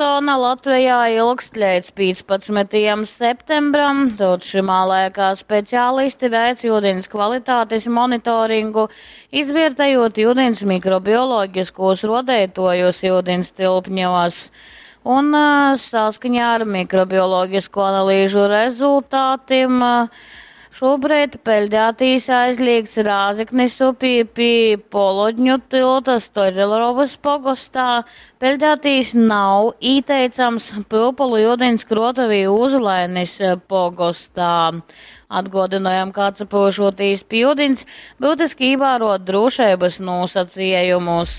Sezona Latvejā ilgst leidz 15. septembram, tod šymā laikā speciālisti veic iudins kvalitātes monitoringu, izviertejot iudins mikrobioloģiskos ruodeituojus iudins tilpņos. Un saskaņā ar mikrobioloģisko analīžu rezultātim šobrīd peļdētīs aizliegts Rāzeknis upī pie Polodņu tilta Stoļerovas pogostā. Peļdētīs nav īteicams Pyupolu iudins krotavī Ūzulainis pogostā. Atgodinojam, ka atsapyušotīs pi iudins, byutiski īvārot drūšeibys nūsacejumus.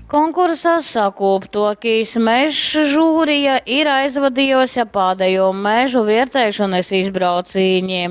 Konkursa sakūptuokīs mežs žūrija ir aizvadījusi pādējo mežu viertēšanas izbraucīņi.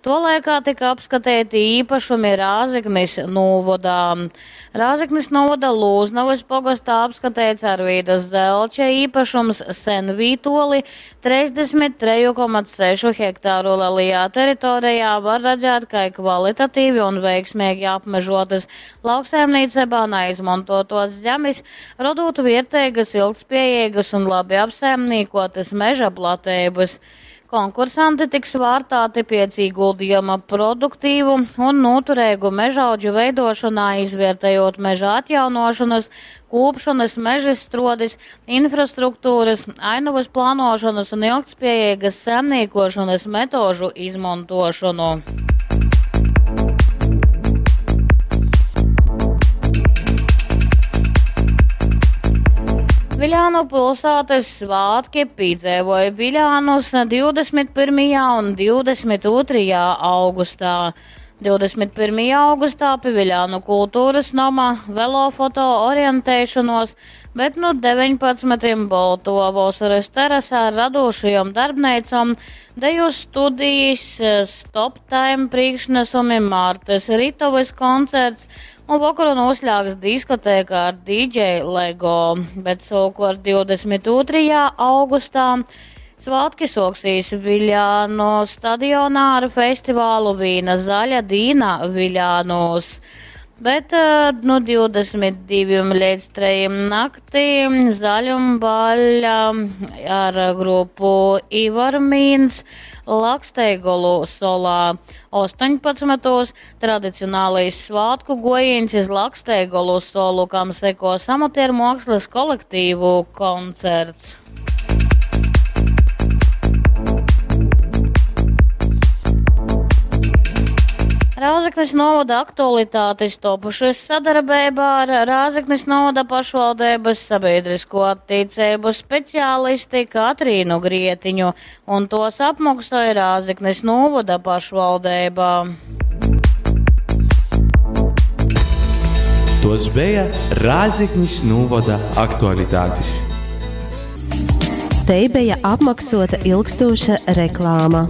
To laikā tika apskatīti īpašumi Rāzeknis nūvodā. Rāzeknis nūvoda Lūznavas pogostā apskatīts Arvīdas Zelča īpašums Senvītoli 33,6 hektāru lielajā teritorijā var redzēt, kā kvalitatīvi un veiksmīgi apmežotas lauksaimniecībā neizmantotos zemes, rodot vierteigas, ilgtspējīgas un labi apsaimniekotas meža platības. Konkursanti tiks vārtāti pēc ieguldījuma produktīvu un noturīgu mežaudžu veidošanā, izvērtējot meža atjaunošanas, kūpšanas, mežizstrodis, infrastruktūras, ainavas plānošanas un ilgtspējīgas saimniekošanas metožu izmantošanu. Viļānu pilsētas svētki piedzīvoja Viļānus 21. un 22. augustā. 21. augustā pie Viļānu kultūras nama velofoto orientēšanos, bet nu 19. Bolto vasaras terasā ar radošajām darbneicām, deju studijas, stop time priekšnesumi, Mārtas Ritovas koncerts un vakaru noslēgs diskotēka ar DJ Lego. Bet savukārt 22. augustā svētki soksīs Viļānu stadionā ar festivālu Vīna zaļa dīna Viļānos. Bet nu 22 līdz 3 naktī zaļumbaļa ar grupu Ivarmīns Laksteigolu solā. 18. Tradicionālais svātku gojiens iz Laksteigolu solu, kam sekos amatieru mākslas kolektīvu koncerts. Rāzeknis novada aktualitātes topušas sadarbībā ar Rāzeknis novada pašvaldības sabiedrisko attiecību speciālisti Katrīnu Grietiņu, un tos apmaksāja Rāzeknis novada pašvaldība. Tos bija Rāzeknis novada aktualitātes. Te bija apmaksota ilgstoša reklāma.